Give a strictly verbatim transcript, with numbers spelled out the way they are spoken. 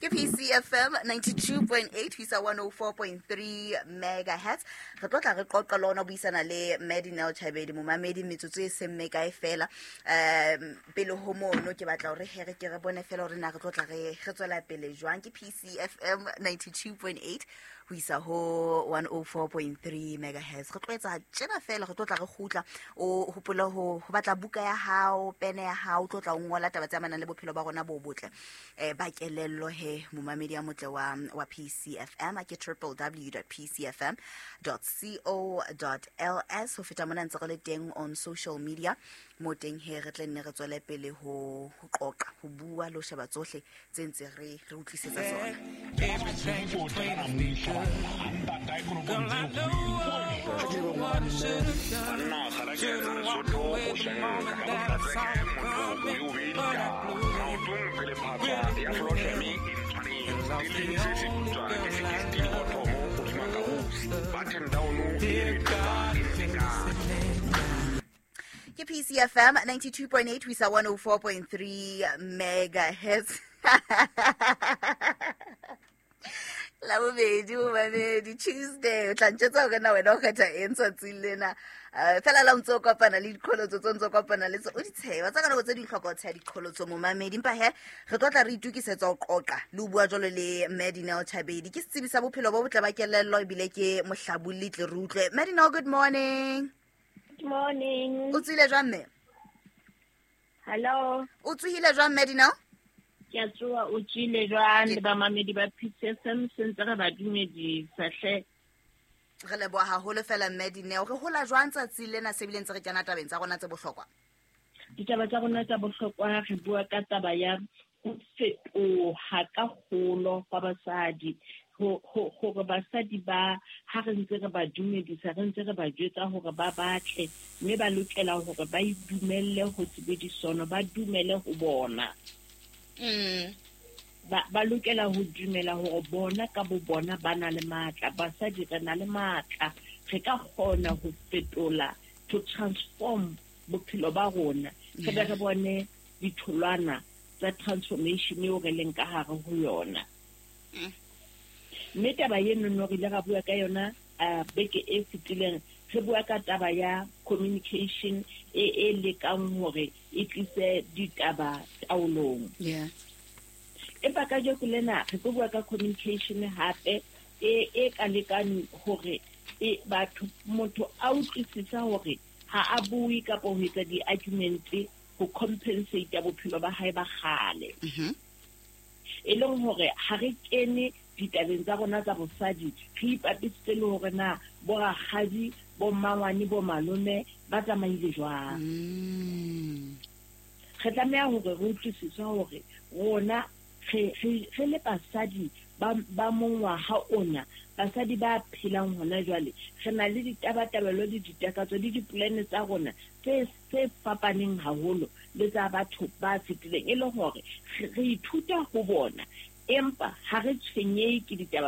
Ke P C F M ninety-two point eight ho isa one oh four point three megahertz. Re tlo tla re qoqa le ona, buisana le Madinel Chabedi, momamedi, metsotso e seng mekae fela. um pele ho mono, ke batla hore he re ke re bone fela hore na re tlo tla re re tswela pele jwang. Ke P C F M ninety-two point eight ho isa ho one oh four point three megahertz. Re tlo etsa tjena fela, re tlo tla re kgutla. O hopole ho ho batla buka ya hao, pene ya hao, o tlo tla o ngola taba tse amanang le bophelo ba rona bo botle eh ba kelello. He momamedi ya motle wa wa P C F M, a ke w w w dot p c f m dot co dot l s. Ho feta mona, ntse re le teng on social media mo teng. He re tle nne re tswele pele ho ho qoqa, ho bua le ho sheba tsohle tse ntse re re utlwisetsa tsona. Everything between us be good. Girl, I know what I should have done. Should've walked away the moment that I saw you coming, but I blew it. Really blew it. And lost the only girl I love. Dear God, if you're listening. Ke P C F M ninety-two point eight ho isa one oh four point three megahertz. La bobedi, momamedi, Tuesday. O tla ntjwetsa hore na wena o kgetha eng tsatsing lena. um fela la o ntse o kopana le diqholotso tse o ntse o kopana le tse o di tsheba tsa ka nako tse ding, hloka ho tsheha diqholotso, momamedi. Empa he re tlo tla re itokisetsa ho qoqa le ho bua jwalo le Madinel Chabedi. Ke setsebi sa bophelo bo botle ba kelello, ebile ke mohlabolli. Tle re utlwe. Madinel, good morning. Good morning. O tsohile jwang, mme? Hello. O tsohile jwang, Madinel? Ke a tsoha, o tswile jwang le bamamedi ba P C F M? Sentse re ba dumedisa hle. Re leboha haholo fela, Madinel. Re hola jwang tsatsing lena se bile ntse re kena tabeng tsa rona tse bohlokwa? Ditaba tsa rona tsa bohlokwa, re bua ka taba ya ho fetoha ka kgolo kwa basadi. Hore basadi ba ha re ntse re ba dumedisa, re ntse re ba jwetsa hore ba batle, mme ba lokela hore ba idumelle ho sebedisono, ba dumele ho bona. Mm. Ba ba lokela ho dumela hore bona ka bo bona ba na le matla. Basadi re na le matla, re ka kgona ho fetola, to transform bophelo ba rona, re be re bone ditholwana tsa transformation eo re leng ka hare ho yona. Mme taba eno re ile ra bua ka yona uh, beke e fetileng, re bua ka taba ya communication e e lekang hore e tlise ditaba taolong. Yeah. Empa kajeko lena re tlo bua ka communication hape e e ka lekang hore e batho, motho a utlwisisa hore ha a bue kapa ho etsa di-argument ho compensate bophelo ba hae ba kgale. Mhm. E leng hore ha re kene ditabeng tsa rona tsa bosadi, re ipapisitse le hore na bo rakgadi, bo mmangwane, bo malome ba tsamaile jwang. Mm. Re tlameha hore re utlwisise hore rona re re re le basadi ba ba mongwaha ona, basadi ba phelang hona jwale, re na le ditabatabelo le ditakatso le dipolane tsa rona tse tse fapaneng haholo le tsa batho ba fetileng, e le hore re re ithuta ho bona, empa ha re tshwenyehe ke ditaba.